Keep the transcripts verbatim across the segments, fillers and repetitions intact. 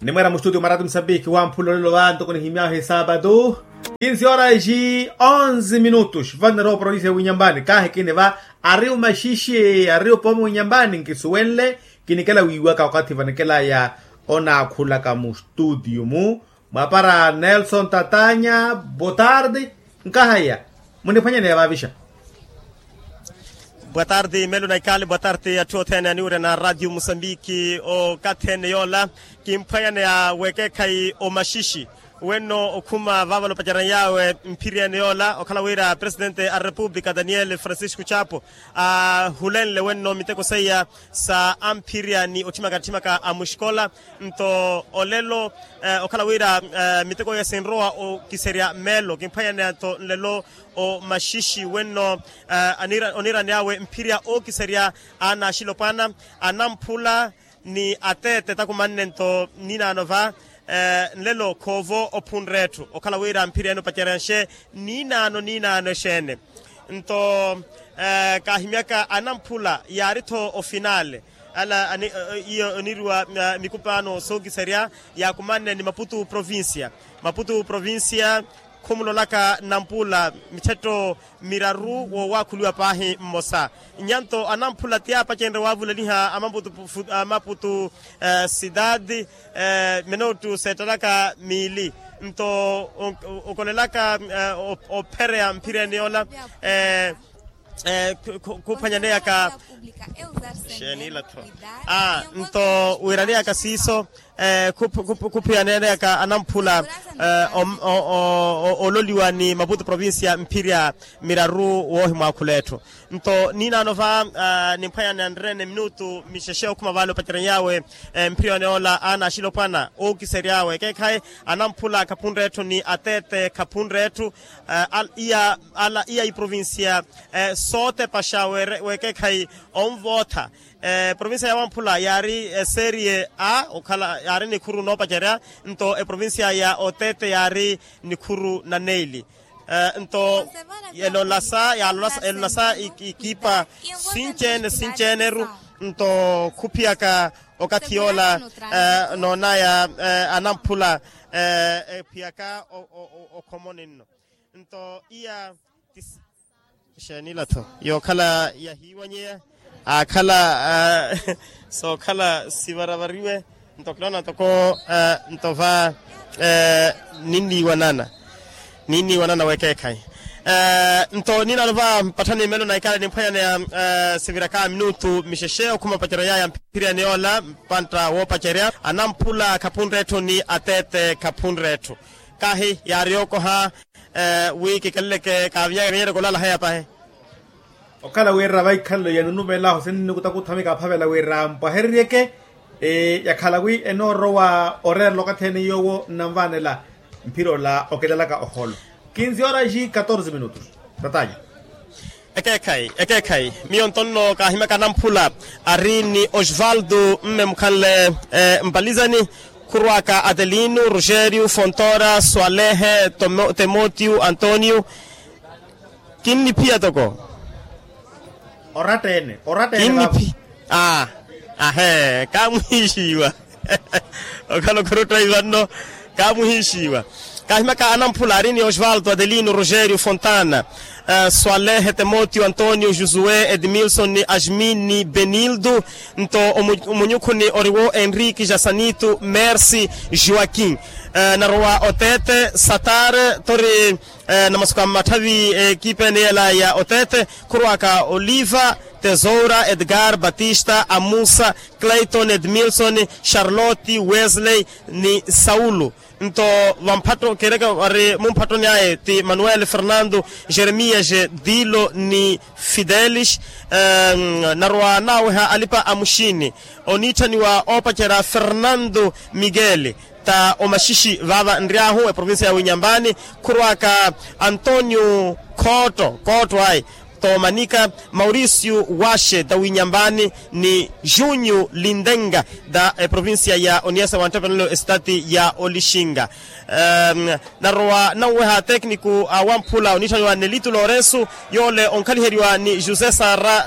Nimweera mustudio mwa ratu musambiki wamphula olelo va ntoko nihimyahu esaapatu. Kinsi horas ji onze minutos vano nerowa provincia ya winyambani kahi kini va ari omaxixe ari opoma winyambani nkisuwenle. Kinikela wiiwaka wakathi vanikela ya onaakhulaka mustudio mu mwapara nelson tatanya. Botardi. Nkahaya muniphwanyaneya vavixa. Boa tarde melo na ikali boa tarde atthu othene aniwurya na radio musambiki okathi ene yoola. Kimphwanyaneya wekeekhayi omaxixi wenno okhuma vaava loopacerya yaawe mphiri ene yoola okhala wira presidente a repupulika daniel francisco chapo ahulenle wenno miteko seiya sa amphirya ni otthimaka atthimaka a muxikola. Nto olelo okhala wira miteko iya sinrowa okiserya meelo kimphwanyaneya nto nlelo omaxixi wenno oniirani awe mphirya ookiserya aana axilopwana anamphula ni ateete takumanne nto ninaano va nlelo khoovo ophunre etthu okhala wira mphirya ene opacerya nxe ninaano ninaano exeene. Nto kaahimyaka anamphula yaari-tho ofinale ala iyo oniiriwa mikupaano sookiserya yaakumanne ni maputu provincia. Maputu provincia khumulolaka nampuula mithetto miraru wowaakhuliwa paahi mmosa. Nyanto anamphula ti aapacenrye waavuleliha amaputu sidadi minuttu seettalaka miili nto okolelaka ophereya mphireni yoola khuphanyaneyaka xeeni ila-tho nto wiiraneyaka siiso khuphiyaneyaka anamphula ololiwa ni maputu provincia mphirya miraru woohimwaakhula etthu. Nto ninaano va nimphwanyane anrene minutu mixexe okhuma vale opacerya yaawe mphirya yoola aana axilopwana ookisery'awe ekeekhayi anamphula khaphunre etthu ni ateete khaphunre etthu iya iya iprovincia sootepaxa wekeekhayi onvootha. Provincia ya wamphula yaari eserie a okhala yaari nikhuru noopacerya nto eprovincia ya otete yaari nikhuru na neili. Nto elolasa yalolasa elolasa ikipa sinci-ene sinci-ene-ru nto khuphiyaka okathi yoola noonaya anamphula ephiyaka okhomoni nno. Nto iya tisi xeenila-tho yookhala yahiiwanyeya aakhala sookhala sivaravariwe nto kiloona ntoko nto va ninniiwanana ninniiwanana wekeekhayi. Nto ninaano va mpatthani melo na ikala nimphwanyaneya siviraka minutu mixexe okhuma opacerya yaya mphiriyani yoola mpantta woopacerya anamphula khaphunre etthu ni ateete khaphunre etthu. Kahi yaari yookoha wi kikeleleke kaavinyaka vinyereke olala heya pahi. Okhala wira vaikhalelo ya nunumelaho sinni nikutakutha mikaphavela wira mpwahereryeke yakhala wi enoorowa oreerela okathi ene yoowo nnanvaanela mphira ola oketalaka oholo. Kinsi horas ji catorze minutos. Tatanya. Ekeekhayi ekeekhayi miyo ntonno kaahimyaka anamphula ari ni osvaldo mme mukhanle mpalizani khurwaka adelino rogerio fontora swalehe temotiu antonio. Kinniphiya toko oratta-ene oratta-ene kinniphi aa ahe kaamuhiixiwa okhala okhuruttayi vanno kaamuhiixiwa. Kaahimyaka anamphula ari ni osvaldo adelino rogerio fontana swalehe temotiu antonio josué edmilson ni asmin ni benildo nto omunyukhuni oriwo enrique jasanito mercy joaquin narowa otete satar tori namasuka mmatthavi ekipa ene yela ya otete khurwaka oliva tesoura edgar batista amusa clayton edmilson charlotte wesley ni saulo. Nto vamphatto kiireke vari mumphattoni aye ti manuel fernando jeremias dilo ni fidelis narowa naaweha alipa a muxini oniitthaniwa oopacerya fernando miguel ta omaxixi vaava nry'ahu eprovincia ya winyambani khurwaka antonio khootto khootto ayi toomanika mauricio waxe ta winyambani ni junio lindenga ta eprovincia ya oniasa wanttepanelo esitati ya olixinga. Narowa nanweha atekniko a wamphula oniitthaniwa nelito lourenso yoole onkhaliheriwa ni josé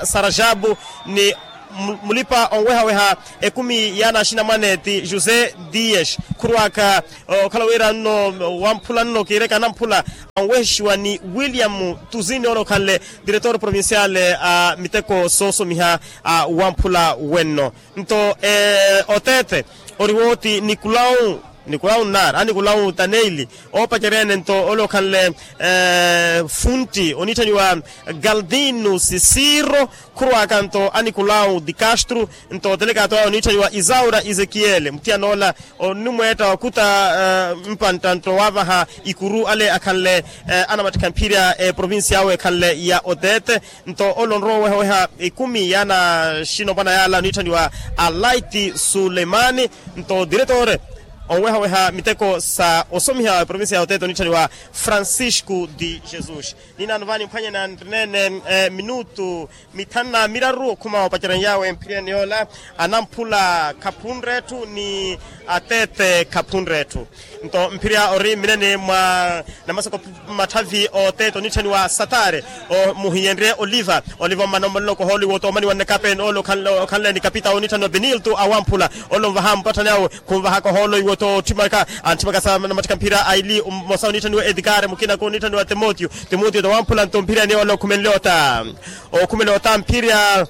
sarajabu ni Mulipa onwehaweha ekumi y'anaxinamwane ti josé dias, khurwaaka okhala wira nno wamphula nno kiireke anamphula, onwehexiwa ni william tuzini ole okhanle diretor provincial a miteko soosomiha a wamphula wenno. Nto oteete ori wooti nikulawu nikulawu nnaari a nikulawu taneili, oopacerya-ene nto ole okhanle funti oniitthaniwa galdino sisiro, khurwaaka nto a nikulawu di castro. Nto otelekato awe oniitthaniwa isaura ezekiele muthiyan'ola onimweetta wakuta mpantta nto waavaha ikuru ale akhanle anamattikha mphirya eprovincia awe ekhanle ya oteete. Nto ole onrowa owehaweha ekumi y'anaxinopwana yaala oniitthaniwa alaiti suleimani. Nto diretore onwehaweha miteko sa osomiha eprovincia ya oteete oniitthaniwa francisco de jesus. Ninaano vaani mphwanyana nrineene minutu mithanu na miraru okhuma opaceryanyawe mphiriyani yoola anamphula khaphunre etthu ni ateete khaphunre etthu. Nto mphirya ori mmineni mwa namasoko matthavi oteete oniitthaniwa satare muhiyenrye oliva oliva ommana ommalelo kohoolo iwo oto omaniwa nnekape ole okhanle ni kapita oniitthaniwa benilto awamphula ole onvaha mpatthani awe khunvahaka ohoolo iwo to otthimaka antthimaka sa namattikha mphirya aili mmosa oniitthaniwa edikare mukina koniitthaniwa timotio. Timotio tawamphula nto mphirya ni ole okhumenle ota okhumela ota mphirya.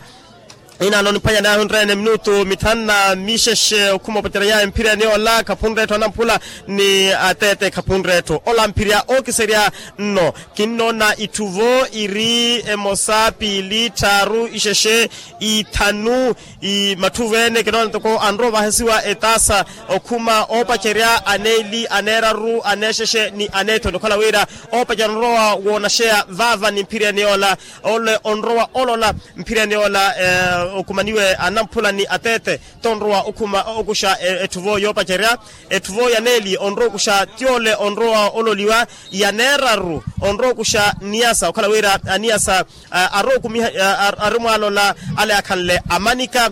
Inaano niphwanya naahi onreene minutu mithanu na mixexe okhuma opacerya yawe mphirya ni ola khaphunre etthu anamphula ni ateete khaphunre etthu ola mphirya ookiserya nno. Kinnoona itthu vo iri emosa piili tthaaru ixexe ithanu matthuvo ene kinoona ntoko anrowa ovahasiwa etaasa okhuma oopacerya aneeli aneeraru aneexexe ni aneethoni okhala wira oopacerya onrowa woonaxeya vaava ni mphiriyani yoola ole onrowa olola mphiriyani yoola okhumaniwe anamphula ni ateete tonrowa okhuma okuxa etthuvo yoopacerya etthuvo yaneeli onrowa okuxa ti ole onrowa ololiwa yaneeraru onrowa okuxa niyasa okhala wira aniyasa arowa okumiha ari mwaalola ale akhanle amanika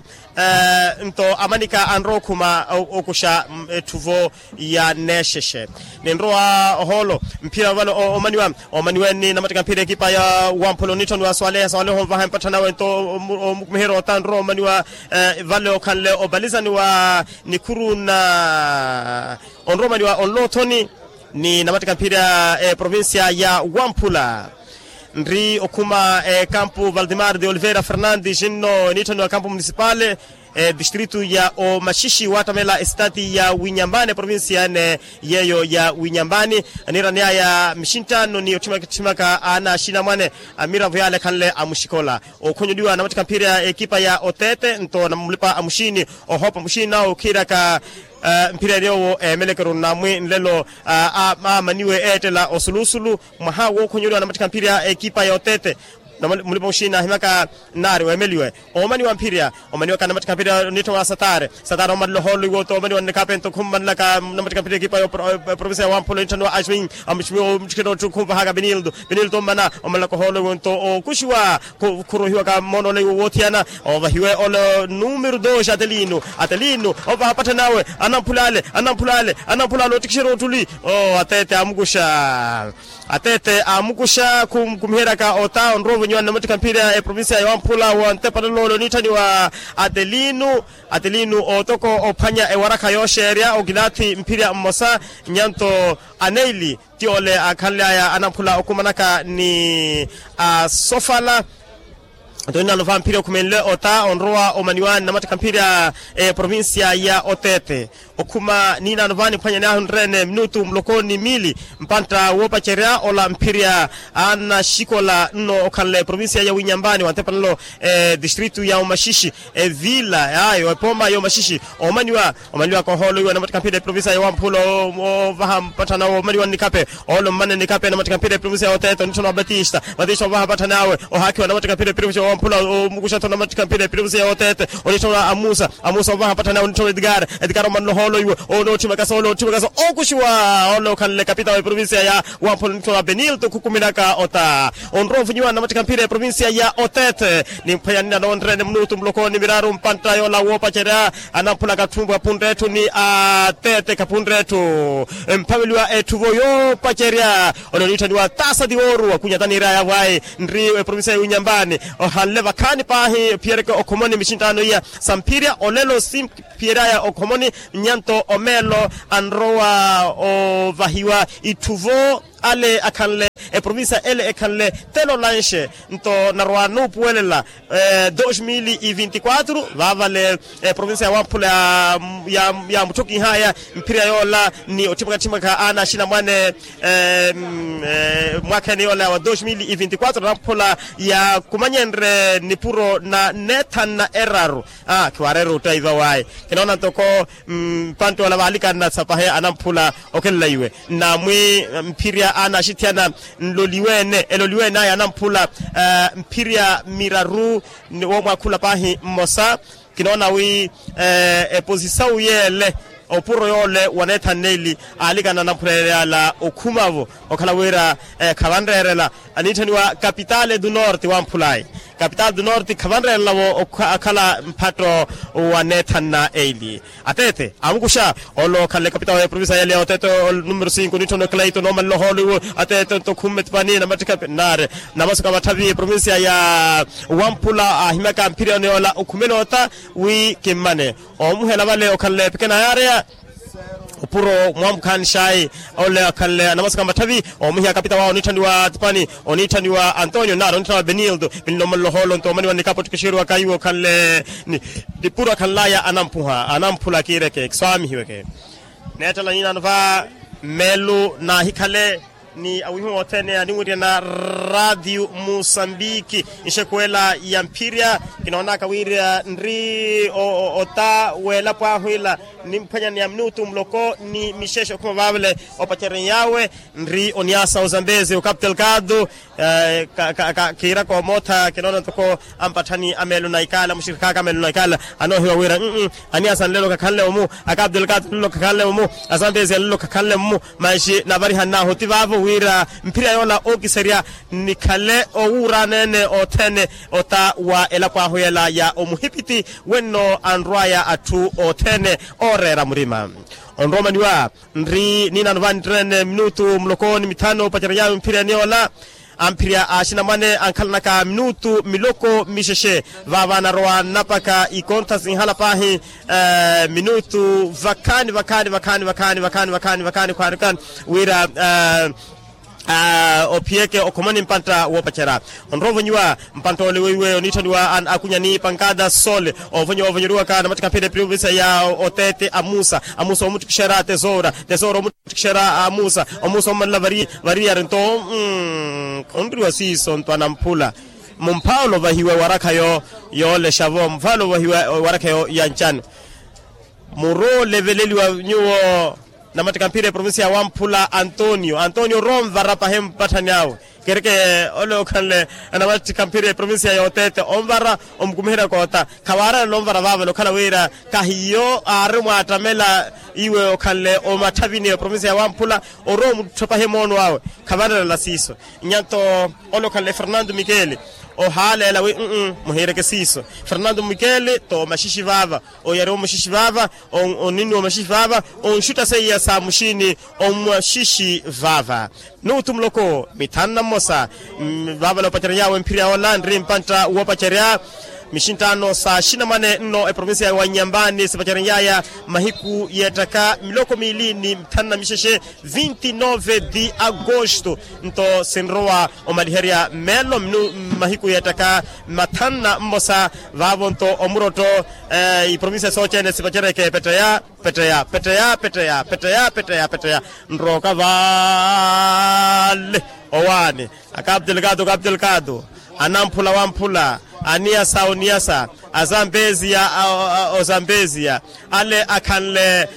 nto amanika anrowa okhuma okuxa etthuvo yaneexexe ninrowa ohoolo mphira vale omaniwa omaniwe ni namattika mphira ekipa ya wamphula onitthoniwa swaleha swaleha onvaha empatthanawe nto omukumiherya ota nrowa omaniwa vale okhanle opalizaniwa nikhuru na onrowa omaniwa onloothoni ni namattika mphira eprovincia ya wamphula nri okhuma ekampu valdemar de oliveira fernandes nno eniitthaniwa kampu municipal edistritu ya omaxixi wattamela esitati ya winyambani eprovincia ene yeeyo ya winyambani aniiraneyaya mixinttano ni otthimakatthimaka aana axinamwane amiravo yaale ekhanle amuxikola okhonyoliwa namattikha mphira ekipa ya otete nto mulipa amuxiini ohoopa muxiini nawe okhiiraka mphira ene yoowo eemelekeru namwi nlelo aamaniwe eettela osulusulu mwaha wookhonyoliwa namattikha mphira ekipa ya otete mulipa muxiini ahimaka nnaari weemeliwe oomaniwa mphirya omaniwaka namattikha mphirya onitthoniwa satare satare omalelo hoolo iwo to omaniwa nnikhape nto khummanlaka namattikha mphirya ekipa ya provincia ya wamphula onitthoniwa ashwing amishwing omuttikherya otthu khumvahaka benildo benildo ommana omalelaka ohoolo iwo nto ookuxiwa khurohiwaka mmoona ole iwo woothiyana ovahiwe ole numeru dos atelino atelino ovaha patthanawe anamphula ale anamphula ale anamphula ale ottikixerya ottuli oo atete amukuxa atete amukuxa khumkumiheryaka ota onrowa ovonyiwa nnamattikha mphirya eprovincia ya wamphula wa ntepanelo ole onitthaniwa atelino atelino otoko ophwanya ewarakha yooxeerya okilathi mphirya mmosa nyanto aneili ti ole akhanly'aya anamphula okhumanaka ni asofala nto ninaano vamphirya okhumenle ota onrowa omaniwa nnamattikha mphirya eprovincia ya otete okhuma ninaano vaniphwanya naahi onreene minutu muloko ni miili mpantta woopacerya ola mphirya anaxikola nno okhanle eprovincia ya winyambani wa ntepanelo edistritu ya omaxixi evila ayo epooma ya omaxixi omaniwa omaniwaka ohoolo iwo namattikha mphira eprovincia ya wamphula ovaha mpatthana omaniwa nnikhape oolo mmane nnikhape namattikha mphira eprovincia ya otete onitthoniwa batista batista ovaha mpatthana awe ohaakiwa namattikha mphira eprovincia ya wamphula omukuxa-tho namattikha mphira eprovincia ya otete onitthoniwa amusa amusa ovaha mpatthana awe onitthoniwa edikara edikara omanna ohoolo iwo onootthimaka sa onootthimaka sa ookuxiwa oolo okhanle kapita wa eprovincia ya wamphula onitthoniwa benilto okhukuminaka ota onrowa ovunyiwa namattikha mphira eprovincia ya otete nimphwanya ninaano onreene minutu muloko ni miraru mpantta yoola woopacerya anamphula katthumpwe aphunre etthu ni atete khaphunre etthu mphaveliwa etthuvo yoopacerya ole oniitthaniwa taasa tiwooru akunyata niiraya vwayi nri eprovincia ya winyambani oha akhanle vakhaani paahi ophiyereke okhomoni mixinttaano iya sa mphirya olelo si phiyeraya okhomoni. Nnyanto omeelo anrowa ovahiwa itthuvo ale akhanle eprovincia ele ekhanle telo lanxe nto narwa nuupuwelela dos mil e vinte e quatro vaavale eprovincia ya wamphula ya mutthukihaya mphirya yoola ni otthimaka-tthimaka aana axinamwane mwaakha ene yoola wa dos mil e vinte e quatro namphula yakumanyenre nipuro na neethana eraru. Khiwaareera ottaiva waye kinoona ntoko mpanttoola vaalikanna sapahe anamphula okhenlaiwe na mwi mphirya aana axithiyana nloliweene eloliweene aya anamphula mphirya miraru womwaakhula paahi mmosa. Kinoona wi eposisawu yeele opuro yoole waneethanneili aalikana anamphula yeele ala okhumavo okhala wira khavanreerela aniitthaniwa kapitaale du norte wamphulayi. Kapitaale du norte khavanreerelavo akhala mphatto waneethanna eili. Ateete amukuxa ole okhanle kapitaale wa eprovincia yale ya oteete numero cinco oniitthaniwa kalaito noomanle ohoolo iwo ateete nto khumme tipani namattikha naare. Namasuka vatthavi eprovincia ya wamphula aahimyaka mphirya yoola okhumela ota wi kimmane omuhela vale okhanle pekena yaareya. Opuro mwamukhaanixayi ole akhanle anamasuka matthavi omuhiya kapita wawe oniitthaniwa tipani oniitthaniwa antonio nari oniitthaniwa benildo pinlomalloholo nto omaniwa nikapu ottikixeriwaka iwo okhanle nipuro akhanlaya anampuha anamphula kiireke kiswaamihiweke. Neettela niinano va mmeelu naahikhale ni awihiwa othene aninwirya na radio musambiki nxekuwela ya mphirya. Kinoonaka wira nri ota w'elapo ahu ila nimphwanya ni ya minutu muloko ni mixexe okhuma vaavale opacerya yawe nri oniasa ozambezi okapu telkado. Kiiraka omootha kinoona ntoko ampatthani ameelo na ikaala muxirikhaaka ameelo na ikaala anoohiwa wira aniasa nlelo khakhanle omu akapu telkado nlelo khakhanle omu azambezi ya nlelo khakhanle mmu. Manxi navarihannahu oti vaavo wira mphirya yoola ookiserya nikhale owuuraneene othene ota wa elapo ahu yela ya omuhipiti wenno anrw'aya atthu othene ooreera murima. Onroomaniwa nri niinano vaani tteene minutu muloko ni mithano opacerya yaawe mphirya niyoola amphirya axinamwane ankhalanaka minutu miloko mixexe vaava anarowa nnapaka ikontha sinhala paahi minutu vakhaani vakhaani vakhaani vakhaani vakhaani vakhaani vakhaani khwaani khwaani wira ophiyeke okhomoni mpantta woopacerya onrowa ovonyiwa mpantta ole weiwe oniitthaniwa an akunya ni pankada sole ovonyiwa ovonyeriwaka namattikha mphira eprovincia ya oteete amusa amusa omuttikixera tesoura tesoura omuttikixera amusa omusa omanla variyari nto khunriwa siiso nto anamphula mumphaala ovahiwa ewarakha yoolexa-vo mumphaala ovahiwa ewarakha ya ncano. Muru oleveleliwa nyuwo namattikha mphira eprovincia ya wamphula antonio antonio orowa onvara pahi mpatthani awe kereke ole okhanle namattikha mphira eprovincia ya oteete onvara omukumiherya koota khawaarela onvara vaavale okhala wira kahiyo aari mwaattamela iwe okhanle omatthavini eprovincia ya wamphula orowa omuttho pahi moono awe khavanreerela siiso. Nyanto ole okhanle fernando mikeli ohaaleela wi muhiireke siiso fernando mikeli toomaxixi vaava oyariwa omaxixi vaava oniniwa omaxixi vaava onxutta seiya sa muxini omaxixi vaava. Minutu muloko mithanu na mmosa vaavale opacery'awe mphirya yoola nri mpantta woopacerya mixinttaano sa axinamwane nno eprovincia wa nyambani sipacerery'aya mahiku yeettaka miloko miili ni mithanu na mixexe vinti nove di agosto nto sinrowa omaliherya meelo mmahiku yeettaka mathanu na mmosa vaavo nto omurotto iprovincia sooceene sipacereke petteya petteya petteya petteya petteya petteya petteya nrooka vaale owaani akaptelkatu kaptelkatu anamphula wamphula aniyasa oniyasa azambeziya ozambeziya ale akhanle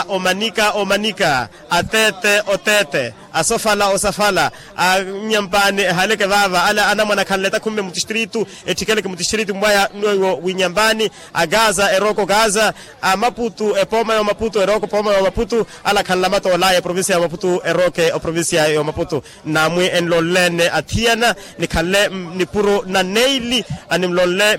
omanika omanika ateete oteete asofala osafala anyampaani ehaleke vaava ale anamwane akhanle takhumme mutistritu ettikeleke mutistritu mwaya nwewo winyampaani agaza erooko gaza amaputu epooma y'omaputu erooko epooma y'omaputu ale akhanle amatoolaya eprovincia y'omaputu erooke oprovincia y'omaputu. Namwi enlonleene athiyana nikhanle nipuro na neili animlonle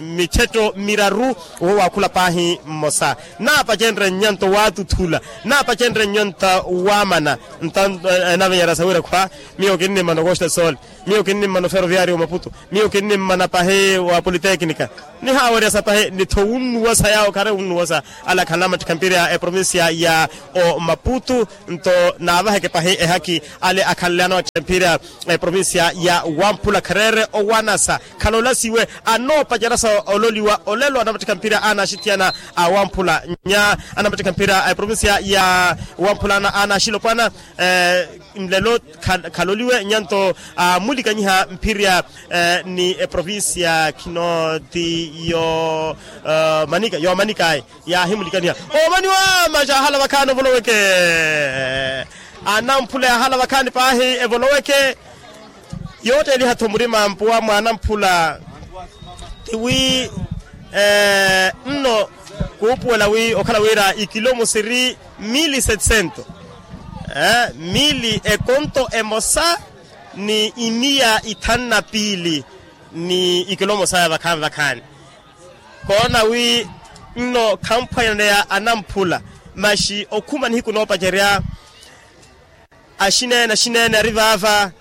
mithetto miraru owo waakhula paahi mmosa naapacenre nnyanto waatuthula naapacenre nnyanto waamana nta enavenyerya sawira khwa miyo kinnimana okoxta sole Miyo kinnimmana oferoviario wa maputu. Miyo kinnimmana pahi wa politeknika. Nihaaweryasa pahi ni-tho wunnuwasa yaawo khare wunnuwasa. Ale akhanle anamuttikha mpira ya eprovincia ya omaputu. Nto naavaheke pahi ehaki ale akhanle anamuttikha mpira ya eprovincia ya wamphula khareere owanasa. Khalolasiwe anoopacerasa ololiwa olelo anamuttikha mpira anaxithiyana awamphula nya anamuttikha mpira a eprovincia ya wamphula anaxilopwana. Nlelo khaloliwe nyanto amulikanyiha mphirya ni eprovincia khino ti yo manika yo manika ayi. Yaahimulikaniha omaniwa maxa ahala vakhaani ovoloweke. Anamphula yahala vakhaani paahi evoloweke. Yootteliha-tho murima mpuwa mwa anamphula tiwi nno kuupuwela wi okhala wira ikilo musiri mili setcento mili ekonto emosa ni imiya ithanu na piili ni ikilo mosa ya vakhaani vakhaani. Koona wi nno khamphwanyaneya anamphula maxi okhuma nihiku noopacerya. Axineene axineene ari vaava.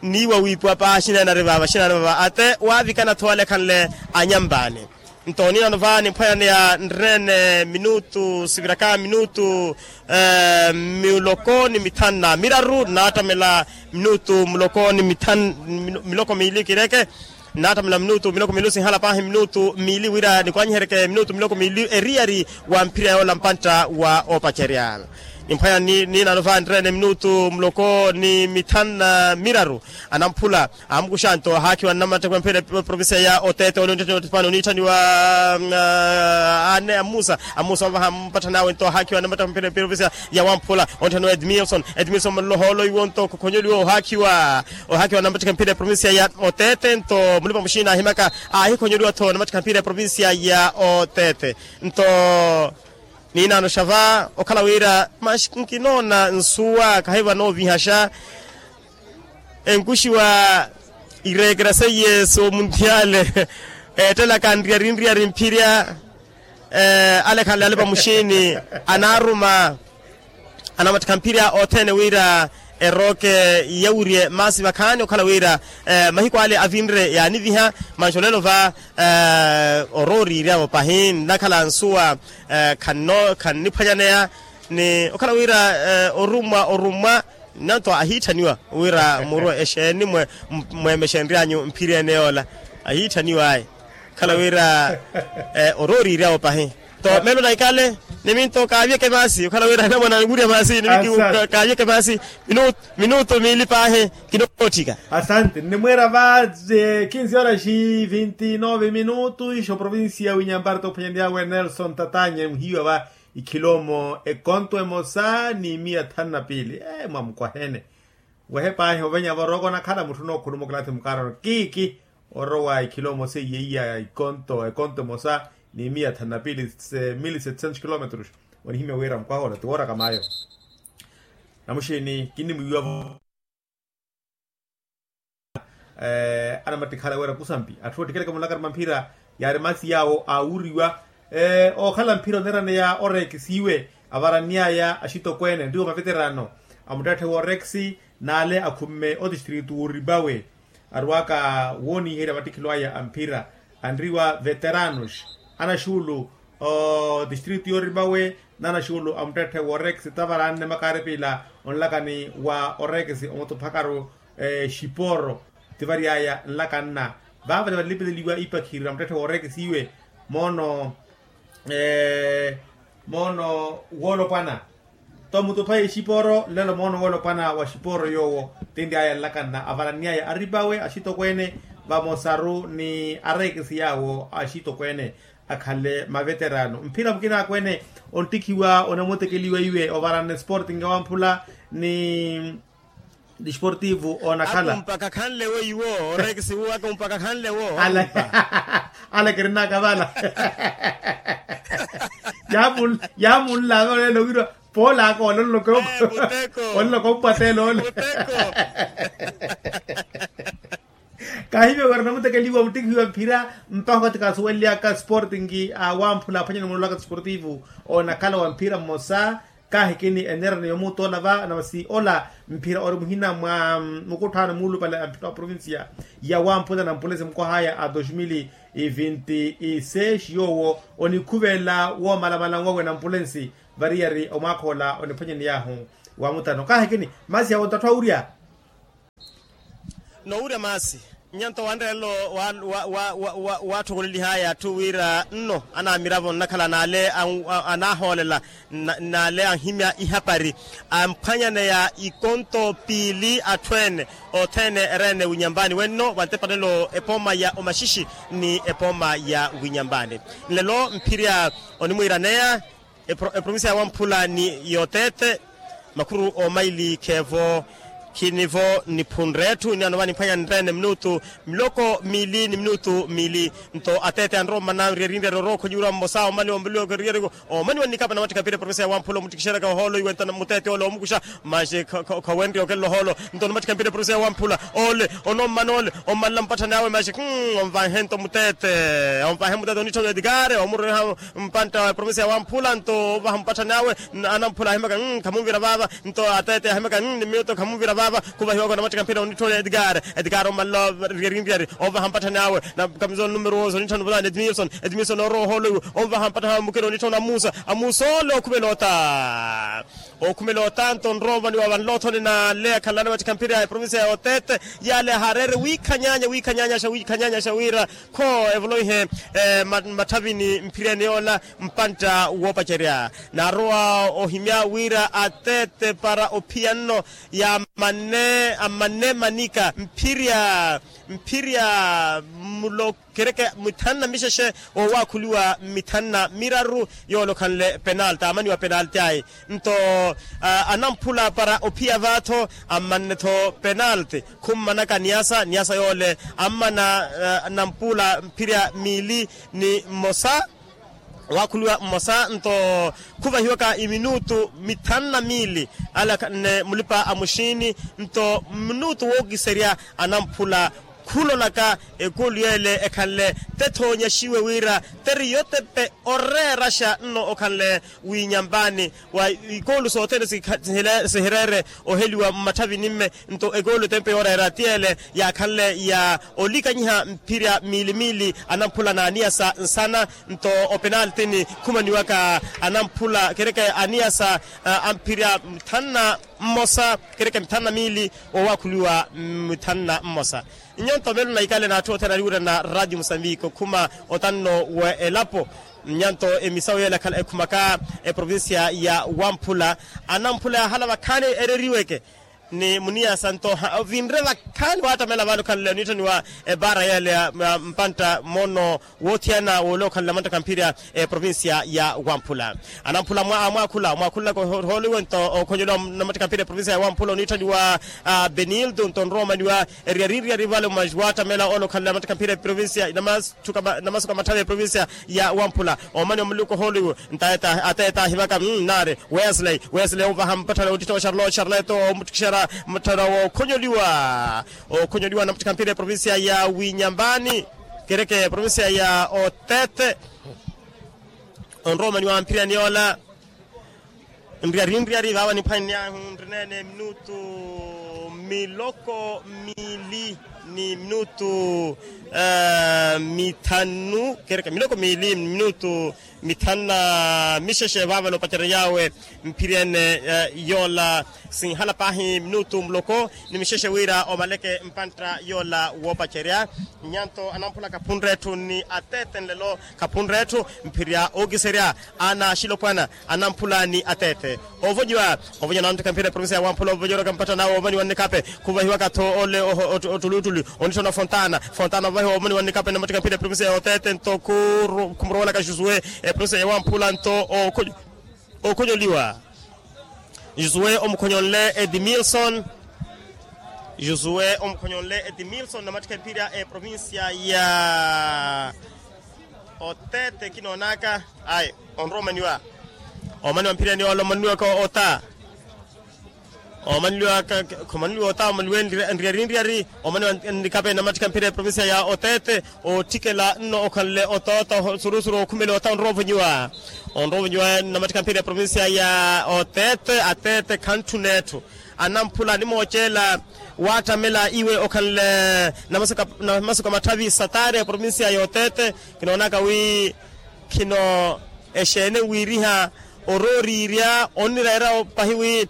N'iwa wiipiwa paahi axineene ari vaava axineene ari vaava ate waavikana-tho alekhanle anyampaani. Nto niinano va nimphwanyaneya nreene minutu siviraka minutu muloko ni mithanu na miraru nnaattamela minutu muloko ni mithanu miloko miili kireke. Nnaattamela minutu miloko miili sinhala paahi minutu miili wira nikwanyiheryeke minutu miloko miili eriyari wa mphira yoola mpantta wa oopacerya. Nimphwanya niinano va nreene minutu muloko ni mithanu na miraru. Anamphula amukuxa nto ahaakhiwa nnamatteko ya mphira eprovincia ya oteete ole onttaniwa otipani oniitthaniwa anne amusa amusa ovaha mpatthani awe nto ahaakhiwa nnamatteko ya mphira eprovincia ya wamphula. Onttaniwa edmilson edmilson malohoolo iwo nto khukhonyoliwa ohaakhiwa ohaakhiwa nnamatteko ya mphira eprovincia ya oteete nto mulipa muxiina aahimaka aahikhonyoliwa-tho nnamatteko ya mphira eprovincia ya oteete. Nto niinano xa va okhala wira maxi nkinoona nsuwa khahiva noovihaxa. Enkuxiwa ireekera seiye soomunthiyale. Eettelaka nriyarinriyari mphirya ale khanle alipa muxiini anaaruma anamuttikha mphirya othene wira erooke yawirye maasi vakhaani okhala wira mahiku ale avinre yaaniviha. Manxi olelo va orooriirya-vo pahi nnakhala nsuwa khanniphwanyaneya ni okhala wira orummwa orummwa. Nanto ahiitthaniwa wira muru exeeni mweemexenry'anyu mphiryeene yoola ahiitthaniwa ayi. Khala wira orooriirya-vo pahi to meelo naikale niminto kaavyeke maasi okhala wira anamwana anwirya maasi niminto kaavyeke maasi. Minutu miili paahi kinootthika. Asante nnimweera va kinsi oraxi vinti nove minutu ixo provincia winyamparto ophwanyanryawe nelson tatanye muhiiwa va ikhilomo ekonto emosa ni miya thanu na piili. Mwamukwahene wehe paahi ovenya voroko nakhala mutthu nookhuluma okilathi mukaarano kiiki orowa ikhilomo seiye iya ikonto ekonto emosa ni miya thanu na piili. Mili setcento kilometros onihimya wira mukwaha ola ti wooraka mayo. Namuxiini kinnimwiiwa-vo anamattikhala wira kusampi atthu oottikeleke mulakari mamphira yaari masi yaawo aawuriwa. Ookhala mphira oneeraneya oreekisiwe avaranny'aya axitokweene nriwo maveterano amuttetthe wooreekisi n'ale akhumme otistritu w'oripawe arwaka wooniiherya mattikhilo aya a mphira anriwa veteranos anaxuulu otistritu y'oripawe n'anaxuulu amuttetthe wooreekisi tavaranne makaaripila onlakani wa oreekisi omutuphakaru exiporo. Tivary'aya nlakanna vaavale valilipeleliwa ipakhirira muttetthe wooreekisiwe moono moono woolopwana tomutupha exiporo nlelo moono woolopwana wa xiporo yoowo tinry'aya nlakanna avalanny'aya aripawe axitokweene vamosaru ni areekisi yaawo axitokweene akhanle maveterano mphira mukinaakweene onttikhiwa onamutekeliwa iwe ovaranne sporting ewamphula ni disportivo onakhala. Akumpaka khanle weiwo oreekisi wu akumpaka khanle wo. Ale kirinaka vala yaamunlaava olelo wirwa poolaka ololoka ompwatele ole. Kaahimya wira namutekeliwa muttikhiwa mphira mpakha okathi kaasuwelelyaka sporting awamphula aphwanyana muloolaka sportivo onakhala wa mphira mmosa. Kaahikini enerani yomuuta ola va na masi ola mphira ori muhina mwa mukutthaano muulupale a mphira wa provincia ya wamphula na mpulensi mukohaya a dos mil e vinti e seis yoowo onikhuvela woomalamala nwawe na mpulensi variyari omwaakha ola oniphwanyaniy'ahu wa mutano kaahikini masi yawo ntatthu awurya. Nowurya maasi. Nyanto wanreerelo waattokolelihaya atthu wira nno anaamiravo nnakhala n'ale anahoolela n'ale anhimya ihapari amphwanyaneya ikonto piili atthu ene othene ereene winyambani wenno vantepanelo epooma ya omaxixi ni epooma ya winyambani. Nlelo mphirya onimwiiraneya eprovincia ya wamphula ni yoteete makhuru omaili kheevo khinivo niphunre etthu ni ano vanimphwanya nreene minutu miloko miili ni minutu miili. Nto ateete anrowa mmana nriyari nriyari orookhonyiwira mmosa omani omani wa nnikapa na mattikha mpira eprovincia ya wamphula omuttikixeraka ohoolo iwenta muteete ole omukuxa maxi khawenrya okelela ohoolo. Nto ni mattikha mpira eprovincia ya wamphula ole onommana ole ommanla mpatthani awe maxi onvanhe nto muteete onvanhe muteete onitthoni edikare omureha mpantta wa eprovincia ya wamphula nto ovaha mpatthani awe anamphula ahimaka khamunvira vaava nto ateete ahimaka ni minuto khamunvira vaava khuvahiwaka na mattikha mpira onitthoni edikare edikare ommanla nriyari nriyari ovaha mpatthani awe na kamizola numero onitthoni vulaani edmilson edmilson orowa ohoolo iwe onvaha mpatthani awe mukina onitthoni amusa amusa ole okhumela ota okhumela otanto nroomani wa vanloothoni n'ale akhalana mattikha mpira ya eprovincia ya otete y'ale ahareere wiikhanyaanya wiikhanyaanyaxa wiikhanyaanyaxa wira kho evoloihe mmatthavini mphiriyani yoola mpantta woopacerya naarowa ohimya wira atete para ophiya nno ya amanne amanne manika mphirya mphirya mulo kereke mithanu na mixexe owaakhuliwa mithanu na miraru yoolokhanle penalti aamaniwa penalti ayi nto anamphula para ophiya vaatho ammanne-tho penalti khummanaka niyasa niyasa yoole ammana nampuula mphirya miili ni mmosa owaakhuliwa mmosa nto khuvahiwaka iminutu mithanu na miili alakhanne mulipa a muxiini nto minutu wookiserya anamphula khulolaka ekulu yeele ekhanle tethoonyaxiwe wira teriyotepe oreeraxa nno okhanle winyambaani wa ikulu sothene sihireere oheliwa mmatthavini mme nto ekulu tempe yooreera ti ele yaakhanle ya olikanyiha mphirya miili miili anamphula n'aniyasa nsana nto openaltini khumaniwaka anamphula kereke aniyasa amphirya mithanu na mmosa kereke mithanu na miili owaakhuliwa mithanu na mmosa nnyonto melo naikale n'atthu othene aliwirana radio musambiki okhuma otanno wa elapo nnyanto emisawu yeela ekhala ekhumaka eprovincia ya wamphula anamphula yaahala vakhaani ereriweke ni muniyasa nto ovinre vakhaani waattamela vale okhanle oniitthaniwa ebaara yeela ya mpantta moono woothiyana woole okhanle amantta kamphirya eprovincia ya wamphula anamphula amwaakhula omwaakhulelaka ohooliwe nto okhonyeliwa na mattikha mpira eprovincia ya wamphula oniitthaniwa benildo nto onrowa omaniwa eriyari nriyari vale omaxi waattamela ole okhanle amattikha mpira eprovincia na masuka matthavi eprovincia ya wamphula omani omuluku ohooliwe nto ateeta ahivaka naari wesley wesley ovaha mpatthana ottittha wa charlotte charlotte omuttikixera mutthana wookhonyoliwa okhonyoliwa na mattikha mpira eprovincia ya winyambani kereke eprovincia ya otete onrowa omaniwa mphiriyani yoola nriyari nriyari vaava niphwanyahu nrineene minutu miloko miili ni minutu mithanu kereke miloko miili minutu mithanu na mixexe vaava noopacerery'awe mphiriyene yoola sinhala paahi minutu muloko ni mixexe wira omaleke mpantta yoola woopacerya nyanto anamphula kaphunre etthu ni atete nlelo kaphunre etthu mphirya ookiserya ana axilopwana anamphula ni atete ovonyiwa ovonyiwa na mteka mphira eprovincia ya wamphula ovonyiwa oraka mpatthana awe omani wa nnikape khuvahiwaka-tho ole ottuluttuli onitthana fontana fontana ovahiwa omani wa nnikape na mteka mphira eprovincia ya otete nto khumurowelaka jusue eprovincia ya wamphula nto okhonyoliwa jusue omukhonyonle edmilson jusue omukhonyonle edmilson na mteka mphira eprovincia ya otete kinoonaka ayi onrowa omaniwa omani wa mphiriyani yoola omaniwaka ota Omaneliwa khomaniwa ota omaneliwa enriyari nriyari. Omaneliwa nikape namattikha mphira eprovincia ya otete. Ottikela nno okhanle otoota osurusuruwa okhumela ota onroovonyiwa. Onroovonyiwa namattikha mphira eprovincia ya otete atete khantthuna etthu. Anamphula animooceela waattamela iwe okhanle namasuka matthavi satari eprovincia ya otete. Kinoonaka wi khino exeene wiiriha orooriirya onnireera pahi wi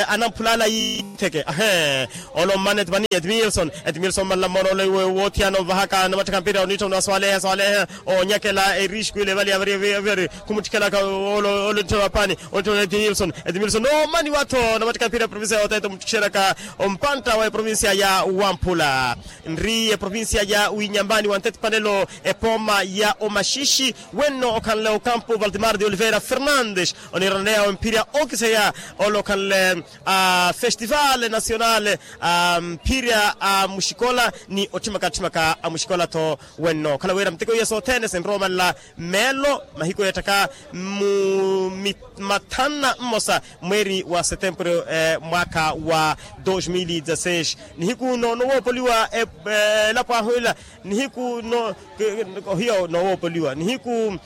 anamphulaala yiitheke ahe. Olo mmana etipani edmilson edmilson mmanla mmona ole woothiyana onvahaka namattikha mpira oniittha onwaswaleha swaleha onyakela erixku ile evali avari khumuttikhelaka. Ole oniittha onapani oniittha edmilson edmilson noomaniwa-tho namattikha mpira eprovincia ya otete omuttikixeraka ompantta wa eprovincia ya wamphula. Nri eprovincia ya winyambani wa ntetipanelo epooma ya omaxixi wenno okhanle okampu valdemar de oliveira fernandes oniiraneya omphirya okiseya ole okhanle a festival nacional a mphirya a muxikola ni otthimaka tthimaka a muxikola-tho. Wenno okhala wira miteko iya sothene sinrowa omanla meelo mahiku eetthaka mu mathanu na mmosa mweeri wa setempuru mwaakha wa dos mil e dezasseis. Nihiku nowoopoliwa elapo ahu ela nihiku ohiya nowoopoliwa nihiku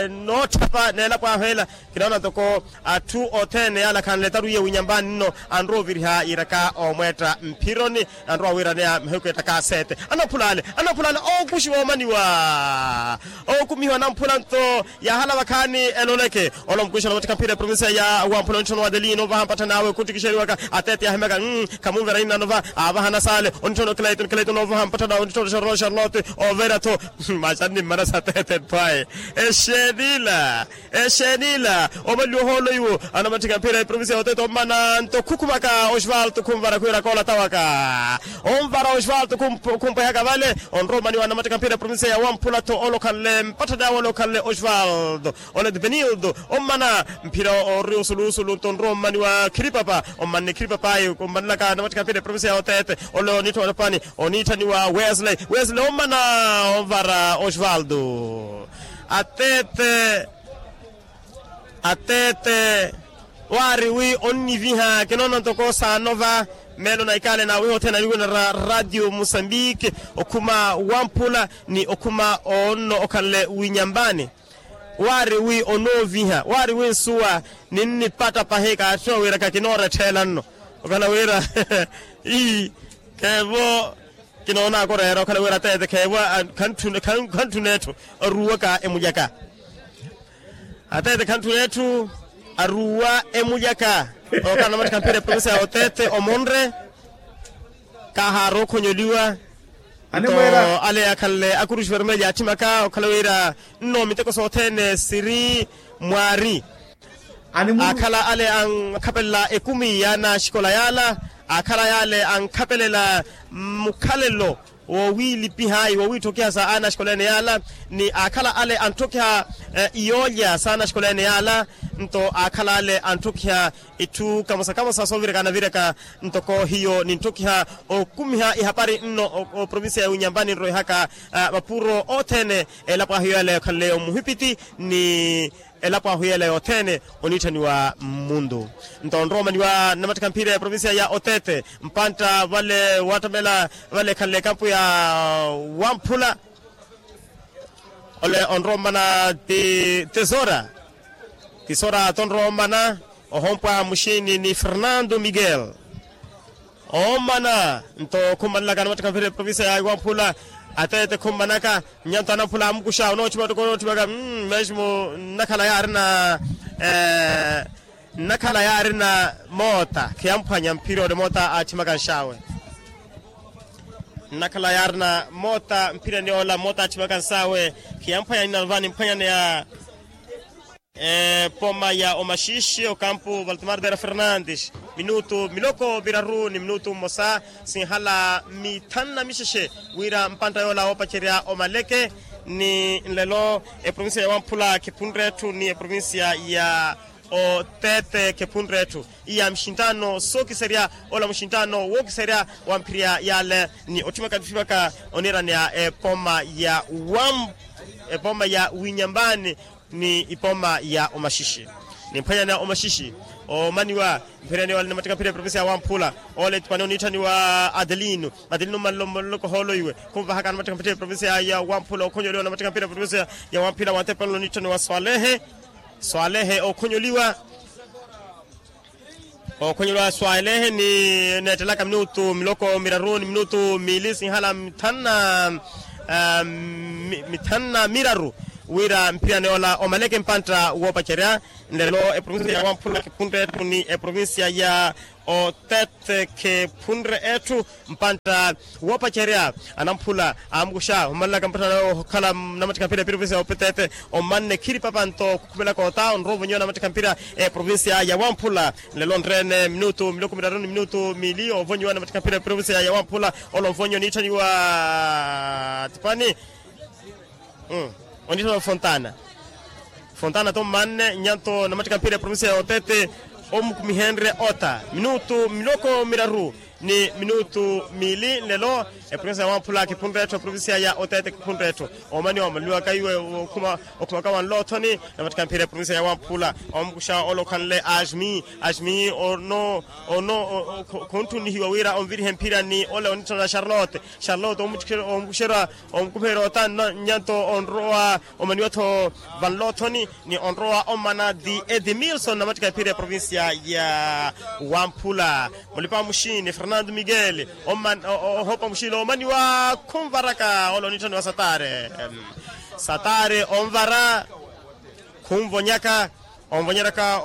nootthapa n'elapo ahu ela. Kinoona ntoko atthu othene yaala khanletaru iye winyambani nno anrowa oviriha yiiraka omweetta mphironi. Anrowa wiiraneya mahiku eettaka sete anamphula ale anamphula ale ookuxiwa omaniwa. Ookumihiwa anamphula nto yaahala vakhaani eloleke. Ole omukuxa namattikha mphira eprovincia ya wamphula onitthona wa adelino ovaha mpatthani awe khuttikixeriwaka atete yaahimyaka. Khamunvera inna nova aavahana saale onitthona okilaito nikilaito noovaha mpatthani awe onitthona xarolo xarolote. Overa-tho maxanni mmana satete nthwaye exeenila. Exeenila omanliwa ohoolo iwo anamatthika mphira eprovincia ya otete ommana nto khukhumaka osvaldo khumvara khwiira koolatawaka. Omvara osvaldo khumpwehaka vale onrowa omaniwa anamatthika mphira eprovincia ya wamphula-tho ole okhanle mpatthani awe ole okhanle osvaldo. Ole dipenildo ommana mphira ori osulusulu nto onrowa omaniwa khiripapa ommanne khiripapa ayi ommanelaka anamatthika mphira eprovincia ya otete. Ole oniittha wa japan oniitthaniwa wesley wesley ommana onvara osvaldo. Atete atete waari wi onniviha kinoona ntoko saanova meelo na ikaale naawiha othene aniwinara radio musambiki okhuma wamphula ni okhuma onno okhanle winyambani. Waari wi onooviha waari wi nsuwa ninnipatta pahi kaatthi owiiraka kinoorettheela nno okhala wira ii kheevo kinoonaka oreera okhala wira atete kheevo khantthuna etthu aruwaka emulyaka. Atete khantthuna etthu aruwa emulyaka. Okhala namattikha mphira eprovincia ya otete omonre kaahaara okhonyoliwa. Nto ale akhanle akuruxi vermelho yaatthimaka okhala wira nno miteko sothene siri mwaari. Aakhala ale ankhapelela ekumi y'anaxikola yaala aakhala yaale ankhapelela mukhalelo wowiilipiha ayi wowiitthokiha sa anaxikola ene yaala ni aakhala ale antthokiha iyoolya sa anaxikola ene yaala. Nto aakhala ale antthokiha itthu kamosa kamosa sooviraka anaviraka ntoko hiyo nintthokiha okumiha ihapari nno oprovincia ya winyambani nroihaka mapuro othene elapo ahu yaale okhanle omuhipiti ni elapo ahu yela yothene oniitthaniwa mmundu. Nto onrowa omaniwa nnamattikha mphira ya provincia ya otete mpantta vale waattamela vale ekhanle ekampu ya wamphula. Ole onrowa omana ti tesora tisora tonrowa omana ohompwa muxini ni fernando miguel. Ommana nto khummanelaka anamattikha mphira eprovincia ya wamphula atete khummanaka. Nyanto anamphula amukuxa onootthimatoko onootthimatoko mesmo nnakhala yaarina nnakhala yaarina moota khiyamphwanya mphira ole moota aatthimaka nxaawe. Nnakhala yaarina moota mphirani ola moota aatthimaka nxaawe khiyamphwanya ninanova nimphwanyaneya. Pooma ya omaxiixi okampu valtemar dera fernandes minutu miloko viraru ni minutu mmosa sinhala mithanu na mixexe wira mpantta yoola woopacerya omaleke. Ni nlelo eprovincia ya wamphula khiphunre etthu ni eprovincia ya otete khiphunre etthu iya mixinttano sookiserya ola muxinttano wookiserya wa mphirya yaale ni otthimaka tthimaka oniiraneya epooma ya wamphula epooma ya winyambani ni ipooma ya omaxixi. Nimphwanyana omaxixi omaniwa mphirani wale namattikha mphira eprovincia ya wamphula. Ole etipani oniitthaniwa adelino. Adelino mmalomoloko hoolo iwe khunvahaka namattikha mphira eprovincia ya wamphula okhonyoliwa namattikha mphira eprovincia ya wamphula wantepanelo oniitthaniwa swalehe. Swalehe okhonyoliwa. Okhonyeliwa swalehe ni neettelaka minutu miloko miraru ni minutu miili sinhala mithanu na miraru wira mphirani ola omaleke mpantta woopacerya. Nlelo eprovincia ya wamphula khiphunre etthu ni eprovincia ya otete khiphunre etthu. Mpantta woopacerya anamphula amukuxa omalelaka mpatthana okhala namattikha mphira eprovincia ya opetete. Omanne khiripapanto khukhumelaka ota onrowa ovonyiwa namattikha mphira eprovincia ya wamphula. Nlelo nreene minutu miloko miraru ni minutu miili ovonyiwa namattikha mphira eprovincia ya wamphula. Ole onvonyi oniitthaniwa tipani oniitthaniwa fontana. Fontana to mmanne nyanto namattikha mphira eprovincia ya otete. Omukumihenrye ota minutu miloko miraru ni minutu miili nlelo. Eprovincia ya wamphula khiphunre etthu eprovincia ya otete khiphunre etthu. Omani omaleliwaka iwe okhumaka wanloothoni namattikha mphira eprovincia ya wamphula. Omukuxa ole okhanle asmi asmi ono ono khunttunihiwa wira onvirihe mphira ni ole oniitthana charlotte. Charlotte omukuxerya omukumiherya ota nyanto onrowa omaniwa-tho vanloothoni ni onrowa omana ti edimilson namattikha mphira eprovincia ya wamphula. Mulipa muxini fernando miguel ohopa muxini omaniwa khunvaraka ole oniitthaniwa satare. Satare onvara khunvonyaka onvonyeraka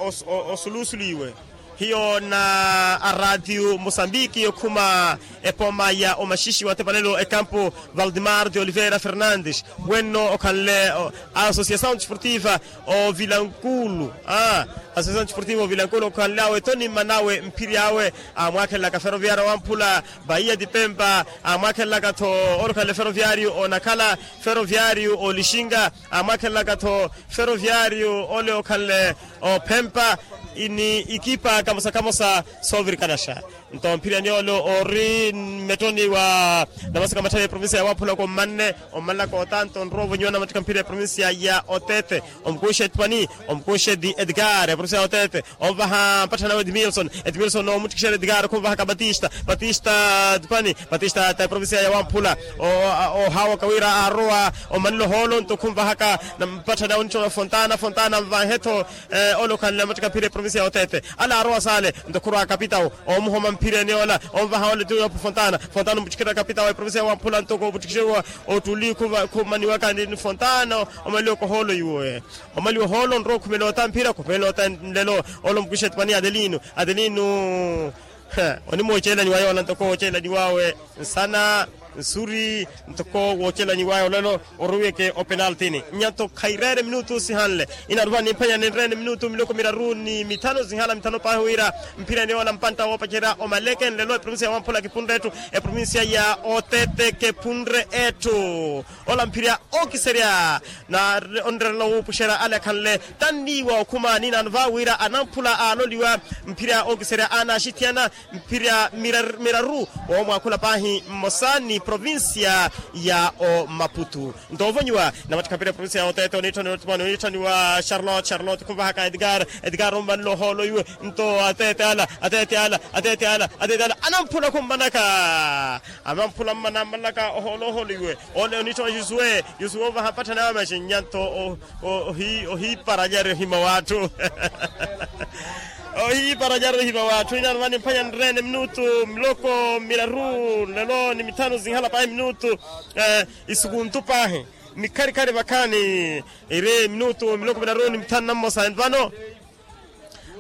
osulusulu iwe. Hiyo na araatiyu mosambiki okhuma epoma ya omaxixi wa tepanelo ekampu valdemar de oliveira fernandes. Wenno okhanle a associação desportiva o vilankulu a associação desportiva o vilankulu okhanle awe toni mmanawe mphiri awe amwaakhelelaka feroviario wamphula. Bahiya dipempa amwaakhelelaka-tho ole okhanle feroviario onakhala feroviario olixinga amwaakhelelaka-tho feroviario ole okhanle ophempa ni ikipa kamosa kamosa soovirikanaxa. Nto mphiriyani ole ori mmettoni wa namasaka matthali eprovincia ya wamphula kommanne ommalelaka otanto onrowa ovonyiwa namattikha mphira eprovincia ya otete. Omukuxe etipani omukuxe di edgar eprovincia ya otete. Onvaha mpatthana wa edmilson edmilson omuttikixerya edgar khunvahaka batista batista tipani batista ta eprovincia ya wamphula. Ohawaka wira aarowa omanelo hoolo nto khunvahaka mpatthana onitthola fontana fontana nvanhe-tho. Ole okhanle namattikha mphira eprovincia ya otete ale aarowa saale nto khurwa kapitawo omuhoma mphireni ola onvaha ole tiwa fontana fontana omuttikherya kapitawo eprovincia ya wamphula nto koomuttikixeriwa ottuli khumaniwaka ni fontana. Omaliwa kohoolo iwe omaliwa ohoolo onrowa okhumela ota mphira okhumela ota nlelo. Ole omukwixa etipani adelino adelino onimoocelani wa yoola ntoko woocelani wawe nsana nsuri ntoko woocelani wawe olelo. Orowiweke openaltini nyanto khaireere minutu sihanle. Inaruva nimphenya ninreene minutu miloko miraru ni mithanu sihala mithanu paahi wira mphireni yoola mpantta woopacerya omaleke nlelo eprovincia ya wamphula kiphunre etthu eprovincia ya otete kephunre etthu. Ola mphirya ookiserya na onrerela wuupuxerya ale akhanle tanniiwa okhuma ninaano va wira anamphula aaloliwa mphirya ookiserya aana axithiyana mphirya miraru woomwaakhula paahi mmosa ni provincia ya omaputu. Nto ovonyiwa namattikha mphira eprovincia ya otete oniitthaniwa charlotte charlotte khunvahaka edgar edgar ommanle ohoolo iwe nto atete ala atete ala atete ala atete ala anamphula khummanaka. Amamphula mmana ammalaka ohoolo ohoolo iwe ole onittha wa josue josue ovaha mpatthana yawe maxinnya nto ohiiparanyari ohima w'atthu. Ohiiparanyari ohima w'atthu inaano vani mphanya nreene minutu miloko miraru nlelo ni mithanu sinhala paahi minutu isukuntu paahi. Mikharikhari vakhaani iri minutu miloko miraru ni mithanu na mmosa vano.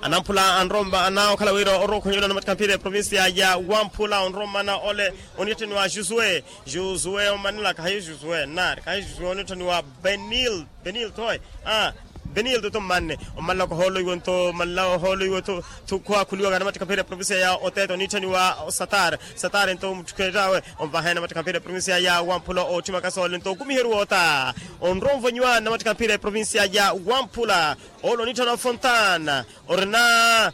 Anamphula anromba anaokhala wira orowa okhonyeliwa namattikha mphira eprovincia ya wamphula onrommana ole oniitthaniwa josue josue ommanelaka hayi josue nnaari kahayi josue oniitthaniwa benil benil thoyi. Benil toto mmanne ommalelaka ohoolo iwe nto ommalela ohoolo iwe tho khuwaakhuliwaka namattikha mphira eprovincia ya otete oniitthaniwa satar satar nto omuttikheryawe onvahene namattikha mphira eprovincia ya wamphula ootthimaka soole nto okumiheriwa ota onrowa onvonyiwa namattikha mphira eprovincia ya wamphula. Ole oniitthana fontana orina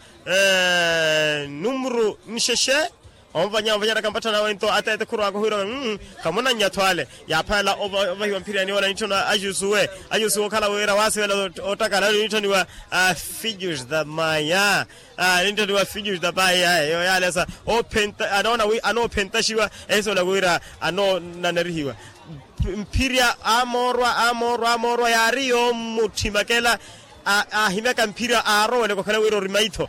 numru nxexe Onvanya onvanyaraka mpatthana awe nto ateete khurwaka ohiira we mmm. Khamunannya-tho ale. Yaaphalela ovahiwa mphiriyani ola nitthoni ajusuwe ajusuwe okhala wira waasivela ottakala nitthoniwa fijus da maya. Nitthoniwa fijus da maya eyo yaalesa. Anoona wi anoophentaxiwa ehisola wira anoonanerihiwa. Mphirya amoorwa amoorwa amoorwa yaari yoommutthima kela. Aahimyaka mphirya aaroweleka okhala wira ori maitho.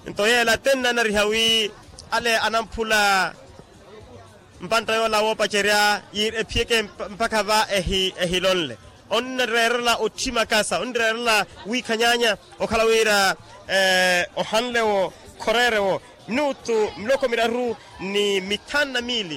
Nto yeela tennanariha wi ale anamphula mpantta yoola woopacerya ephiyeke mpakha va ehilonle. Onreerela otthima kasa onreerela wiikhanyaanya okhala wira ohanle-wo khoreere-wo minutu miloko miraru ni mithanu na miili.